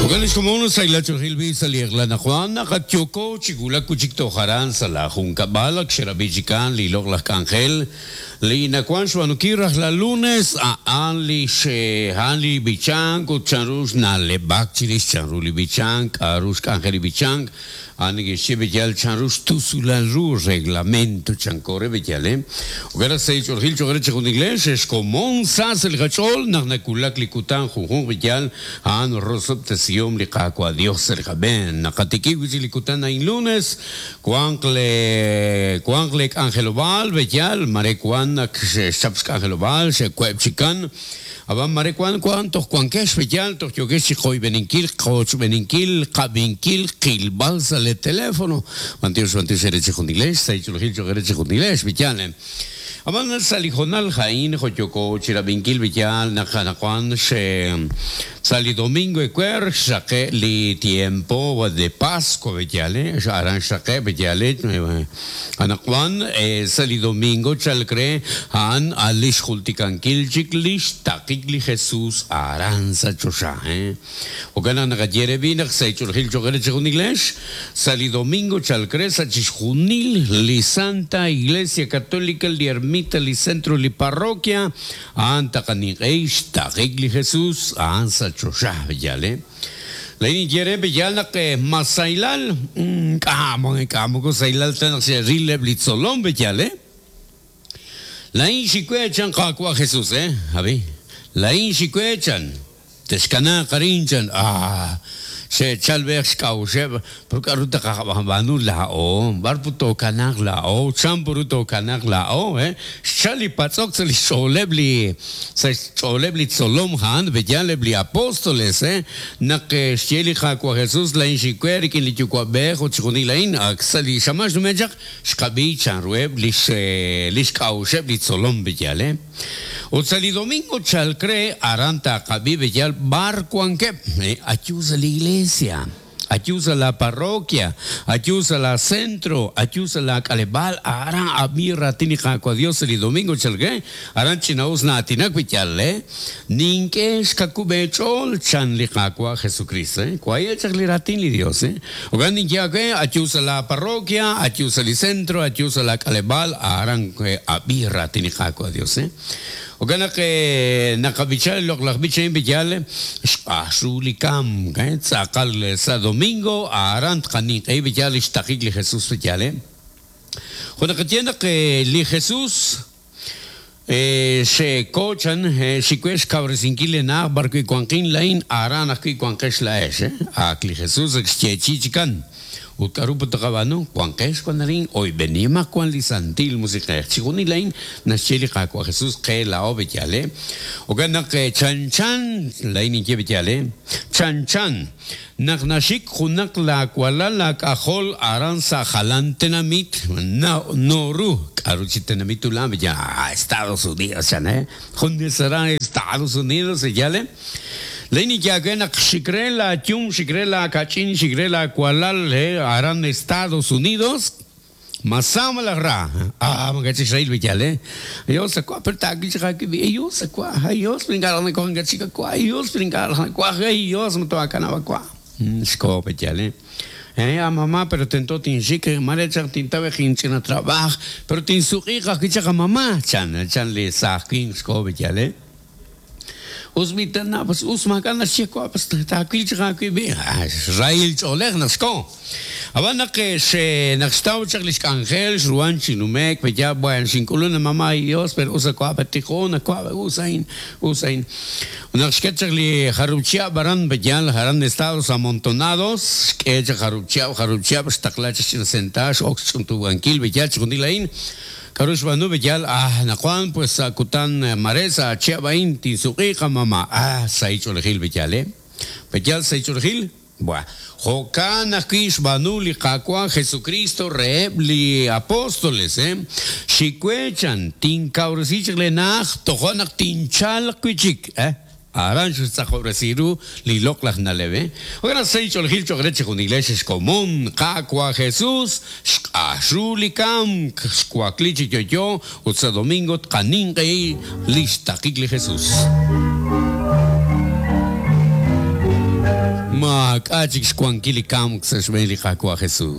Jo'kan li xkomon sahilal ch'oolejil b'i' sa' li eq'la anaqwan naq ak yooko chi wulak wi' chik toj aran sa' laajunkab'al ak xerab'i chikan li loq'laj k'anjel li nawank xb'aanunkil rajlal lunes a'an li a'an li b'ichank ut chanru xna'leb'ak chirix chanru li b'ichank k'a'ru xk'anjel li b'ichank A'an neke'xye b'eyal chanru xtusulal ru reglamento chanko re b'eyal e. Jo'kan naq sa' li ch'oolejil cho'q re chejunilex ex komon sa sa' li qach'ool naq nawulak li kutan junjunq b'eyal a'an rosob'tesihom li Qaawa' Dios sa' li qab'een. Naqatikib' wi' chik li kutan a'in lunes, wanq le wanq le k'anjelob'aal b'eyal, mare wan ak xe'xchap xk'anjelob'aal, xe'web' chikan. Ab'an mare wank wank toj wankex pe yaal toj yookex chi qoyb'eninkil, qochb'eninkil, qab'inkil, qilb'al sa' le teléfono. B'antiox b'antiox eere chejunilex, sahil ch'oolejil cho'q eere chejunilex pe yaal. Ab'an sa' li hoonal a'in jo' yooko chi rab'inkil pe yaal naq anaqwan xe sa' li domingo ewer xraqe' li tiempo de Pascua pe yaal, aran xraqe' pe yaal. Anaqwan, sa' li domingo chalk re, a'an a' li xjultikankil chik li xtaqik li Jesús aran sa' choxa. Jo'kan naq naqaye re b'i' naq sa' ch'oolejil cho'q eere chejunilex, sa' li domingo chalk re sa' chixjunil li Santa Iglesia Católica, li ermita, li centro, li parroquia, a'an taqaninq'ehi xtaqik li Jesús a'an sa' choxa. Yaal, Laa'in ninye re pe'yaal naq ma sahilal? Ink'a', ink'a' moko sahilal ta naq xe'ril eb' li tzolom pe'yaal, eh? Laa'in xik we chan Qaawa' Jesús, eh? Ab'i, laa'in xik we chan, texkanaaq arin chan, ah! Xe'chal b'eej xk'a'uxeb', pero k'a'ru taqab'aanu laa'o? B'ar put tookanaaq laa'o? Chan put ru tookanaaq laa'o, eh? Xchal li patz'ok sa' lix ch'ooleb' li sa' xch'ooleb' li tzolom a'an, b'eyal eb' li apóstoles, naq xye li Qaawa' Jesús, Laa'in xik we rik'in li Yuwa'b'ej ut chixjunil a'in, ak sa' li xamaan xnume' chaq, xqab'i chanruheb' lix lix k'a'uxeb' li tzolom, b'eyal, Ut sa' li domingo chalk re, aran taqab'i b'eyal b'ar wankeb', ayu sa' li iglesia. Ayu sa' laa parroquia, ayu sa' laa centro, ayu sa' laa k'aleb'aal, aran ab'i raatin li Qaawa' Dios sa' li domingo chalk re, aran ch'ina'us na'aatinak wi' yaal, Nink'e xkakub' eech'ool, chan li Qaawa' Jesukristo. Waye' chaq li raatin li Dios. Jo'kan ninye aawe, ayu sa' laa parroquia, ayu sa' li centro, ayu sa' laa k'aleb'aal, aran ab'i raatin li Qaawa' Dios. Jo'kan naq naqab'icha li loq'laj b'ich a'in b'iyal xq'ax ru li kamk, tz'aqal sa' domingo aran tqaninq'ehi b'iyal li xtaqik li Jesús b'iyal. Jo' naqaye naq li Jesús xe'ko chan xikwe xkawresinkil leena'aj b'arwi' wanqin laa'in aran ajwi' wanqex laa'ex. Ak li Jesús ak xyeechi'i chikan. Ut k'aru put tqab'aanu? Wanqex wan arin, oyb'enimaq wan li Santil Musiq'ej. Chixjunil a'in naxye li Qaawa' Jesus qe laa'o b'eyal, eh? Jo'kan naq chanchan, laa'in ninye b'eyal, eh? Chanchan naq naxik junaq laawalal laak'ajol aran sa' jalan tenamit, nooru, k'aru chi tenamit ulan b'eyal, ah, Estados Unidos chan, eh? Junes aran Estados Unidos b'eyal, eh? Laa'in ninye aawe naq xik re laayum, xik re laakach'in, xik re laawalal aran Estados Unidos, ma sa malaj ra? Ah, maak'a' chik xrahil b'eyal, eh? Dios akwa', pero taawil chaq aawib', eh, Dios akwa', ay Dios, pero ink'a' raj nawaj ink'a' chik akwa', ay Dios, pero ink'a' raj nawaj, ay Dios, ma too'aakanab' akwa'. Xkoho b'eyal, eh? Eh, a mamá, pero tento tinxik, mare chaq tintaw inch'ina trabaaj, pero tinsuq'iiq ajwi' chaq a mamá, chan, chan li saaj winq xkoho b'eyal, eh? Us b'i tana, pues us maak'a' naxye wa, pues taawil chaq aawib' b'i. Xrahil ch'oolej naq xko. Ab'an naq naq xtaw chaq li xk'anjel, xruhan chi nume'k, pe ya, bueno, xink'ulun a mamá y Dios, pero us a wa pe tiqon, a wa us a'in, us a'in. Ut naq xket chaq li jarub' chihab' aran, pe yaal, aran Estados Amontonados, xk'e chaq jarub' chihab', jarub' chihab' xtaqla chaq ch'ina sentax, x'ok xch'untub'ankil, pe yaal chixjunil a'in. K'aru xb'aanu b'eyal? Ah, anaqwan pues sa' kutan mare sa' chihab' a'in tinsuq'iiq a mama. Ah, sahil ch'oolejil b'eyal, eh? B'eyal sahil ch'oolejil? Buah. Jo'kan ajwi' xb'aanu li Qaawa' Jesukristo reheb' li apóstoles, eh? Xik we chan, tinkawresi chaq leena'aj, toja' naq tinchalq wi' chik, eh? Aran xe'xtz'aqob'resi ru li loq'laj na'leb'. Jo'kan naq sahil ch'oolejil cho'q re chejunilex xkomon Qaawa' Jesus, xq'ax ru li kamk, xwakli chi yo'yo ut sa' domingo tqaninq'ehi li xtaqik li Jesus. Maak'a' chik xwankil li kamk sa' xb'een li Qaawa' Jesus.